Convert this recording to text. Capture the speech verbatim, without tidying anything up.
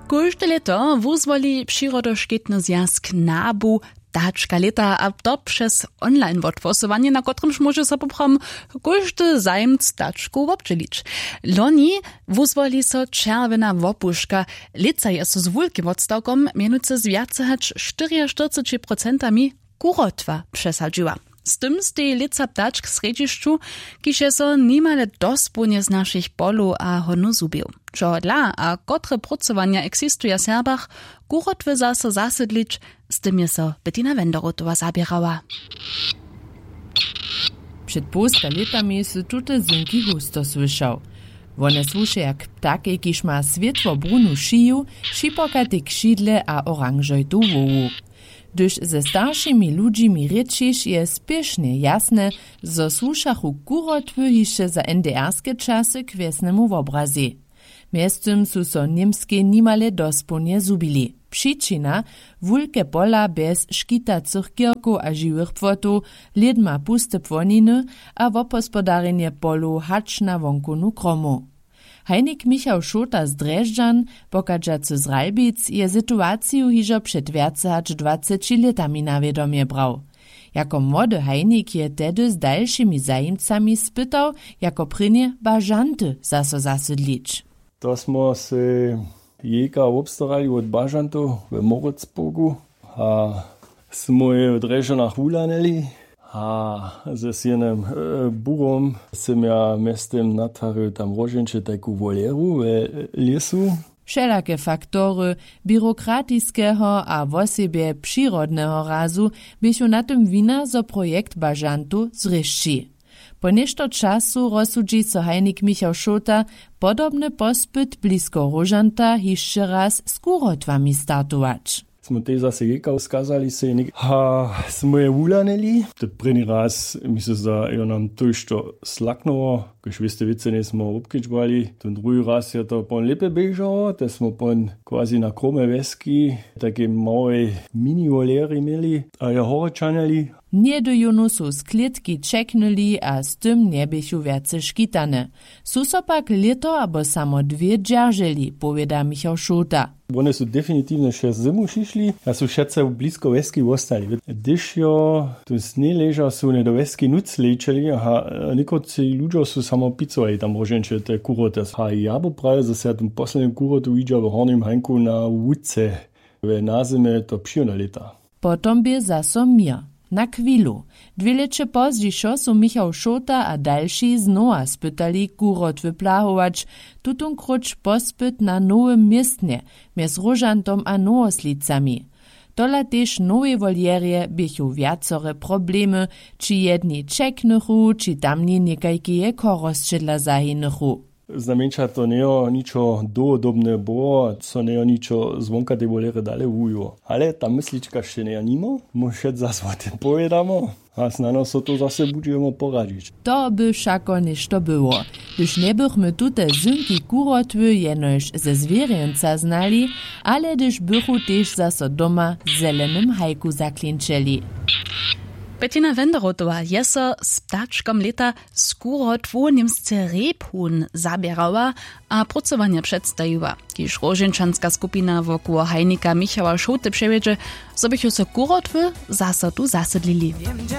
Kóžde lěto wuzwoli přirodoškitny zwjazk nabu ptačka lěta, a to přez online wothłosowanje, na kotrymž móže so poprawom kóždy zajimc ptačkow wobdźělić. Loni wuzwoli so čerwjena wopuška. Lětsa je so z wulkim wotstawkom, mjenujcy z wjace hač štyriaštyrceći procentami, kurotwa přesadźiła. Z tym steji lětsa ptačk w srjedźišću, kiž je so nimale dospołnje z našich polow a honow zhubił. Čehodla a kotre prócowanja eksistuja w Serbach, kurotwy zaso zasydlić, z tym je so Bettina Wenderotowa zaběrała. Před połsta lětami su tute zynki husto słyšał. Wone słuše jak ptakej, kiž ma swětłobrunu šiju, šipokate křidle a oranžojtu hłowu. Hdyž ze staršimi ludźimi rěčiš, je spěšnje jasne, zo słušachu kurotwy hišće za NDR-ske časy k wjesnemu wobrazej. Mjeztym su so w Němskej nimale dospołnje zhubili. Přičina: wulke pola bjez škitacych kirkow a žiwych płotow, lědma puste płoniny a wobhospodarjenje polow hač na wonkownu kromu. Hajnik Michał Šołta z Drježdźan, pochadźacy z Ralbic, je situaciju hižo před wjace hač dwaceći lětami na wědomje brał. Jako młody hajnik je tehdy z dalšimi zajimcami spytał, jako prěnje bažanty zaso zasydlić. To smo sej jejka wobstarali wot bažantow w Moritzburgu a smy je w Drježdźanach wuhlanili. A z jenym burom sym ja mjeztym natwarił tam róžeńće tajku woleru w lěsu. Wšelake faktory běrokratiskeho a wosebje přirodneho razu běchu na tym wina, zo projekt bažantow zrěšći. Po něšto času rozsudźi so hajnik Michał Šołta, podobny pospyt blisko róžanta hišće raz z kurotwami startować. Smy tež zaso jejka skazali sej něk a smy je wuhlanili. Te prěni raz mi se zda, jo, nam tójšto slaknyło, kaž wěste wěcy njejsmy wobkedźbowali. Ten druhi raz je to pon lěpje běžało, te smy pon quasi na kromje wjeski tajkej małej mini woleri měli a je horje čahnjeli. Něhdy jónu su sklědki ćeknyli a z tym njeběchu wjace škitane. Su so pak lěto abo samo dwě dźerželi, powěda Michał Šołta. Wone su definitiwnje wšě zymu přišli a su wšetcy blisko wjeski wostali. Hdyž jo tu sněh ležał, su wone do wjeski nóc lećeli a někotři ludźo su samo picowali tam róžeńće te kuroty. A ja by prawił, zo se ja tym poslednim kurotu widźał w hornim hańku na łuce. W nazymje to přiwna lěta. Potom bě zaso měr. Na chwilu. Dwě lěće pozdźišo su Michał Šołta a dalši znowa spytali kurotwy plahować, tutonkróć pospyt na nowym městnje mjez róžantom a nowoslicami. Tola tež w nowej woljerje běchu wjacore problemy, či jedni ćeknychu, či tamni někajkeje chorosće dla zahinychu. Znajmjeńša to njejo ničo dołhodobne było, co njejo ničo zwonka tej wolery dale wuwiło. Ale ta myslička wšě njejo nimo, móž wšetc zas wo tym powědamo a snano so to zase budźemo poradźić. To by wšako něšto było, hdyž njebychmy tute zynki kurotwy jenož ze zwěrjenca znali, ale hdyž bychu tež zaso doma w zelenym hajku zaklinčeli. Bettina Wenderotowa je so z ptačkom lěta z kurotwu w Němsce Rebhuhn zaběrała a prócowanja předstajiła, kiž róžeńčanska skupina wokoło hajnika Michała Šołty přewjedźe, zo běchu so kurotwy zaso tu zasydlili.